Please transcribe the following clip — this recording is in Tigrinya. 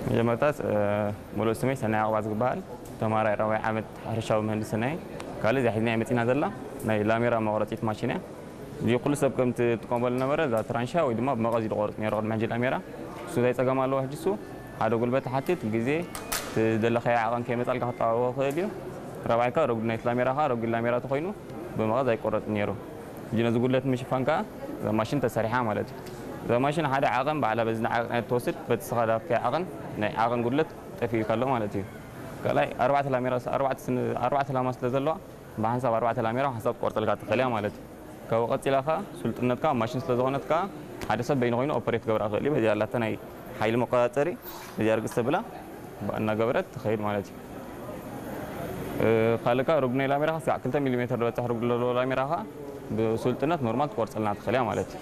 መጀመርታት ሙሉእ ስመይ ሰናይ ኣቕባዝ ዝበሃል፣ ተማራይ ራብዓይ ዓመት ሕርሻዊ ምህንድስና እየ። ካልእ እዚኣ ሒዝና መፂና ዘላ ናይ ላሜራ መቑረፂት ማሽን እያ። እዚ ኩሉ ሰብ ከም ትጥቀመሉ ነበረ፣ እዛ ትራንሻ ወይ ድማ ብመቐስ እዩ ዝቆርፅ ነይሩ ቅድሚ ሕጂ ላሜራ። እሱ እንታይ ፀገም ኣለዎ ሕጂ? እሱ ሓደ ጉልበት ትሓትት፣ ግዜ፣ ትደለኻዮ ዓቐን ከይመፃልካ ክጠዋወ ይኽእል እዩ። ራብዓይ ከኣ ረጉድ ናይቲ ላሜራ ከኣ ረጉድ ላሜራ ተኾይኑ ብመቐስ ኣይቆረፅን ነይሩ። ሕጂ ነዚ ጉድለት ምሽፋን ከኣ እዛ ማሽን ተሰሪሓ ማለት እዩ። እዛ ማሽን ሓደ ዓቐን ባዕላ በዚ ንዓቐን እያ ትወስድ፣ በቲ ስኻ ዝሃብካዮ ዓቐን ናይ ዓቐን ጉድለት ጠፊኡ ኣሎ ማለት እዩ። ካልኣይ ኣርባዕተ ላሜራ፣ ኣርባዕተ ስን-፣ ኣርባዕተ ላማ ስለ ዘለዋ ብሓንሳብ ኣርባዕተ ላሜራ ሓንሳብ ክትቆርፀልካ ትኽእል እያ ማለት እዩ። ካብኡ ቀፂላ ከኣ ስልጡነትካ ኣብ ማሽን ስለ ዝኾነት ከኣ ሓደ ሰብ በይኑ ኮይኑ ኦፐሬት ክገብራ ይኽእል እዩ። በዚኣ ኣላታ ናይ ሓይሊ መቆፃፀሪ፣ በዚኣ ርግፅ ተብላ ብኣ እናገበረት ትኸይድ ማለት እዩ። እ፣ ካልእ ከኣ ርጉድ ናይ ላሜራ ከኣ ክሳዕ ክልተ ሚሊ ሜትር ዝበፅሕ ርጉድ ዘለዎ ላሜራ ከኣ ብስልጡነት ኖርማል ትቆርፀልና ትኽእል እያ ማለት እዩ።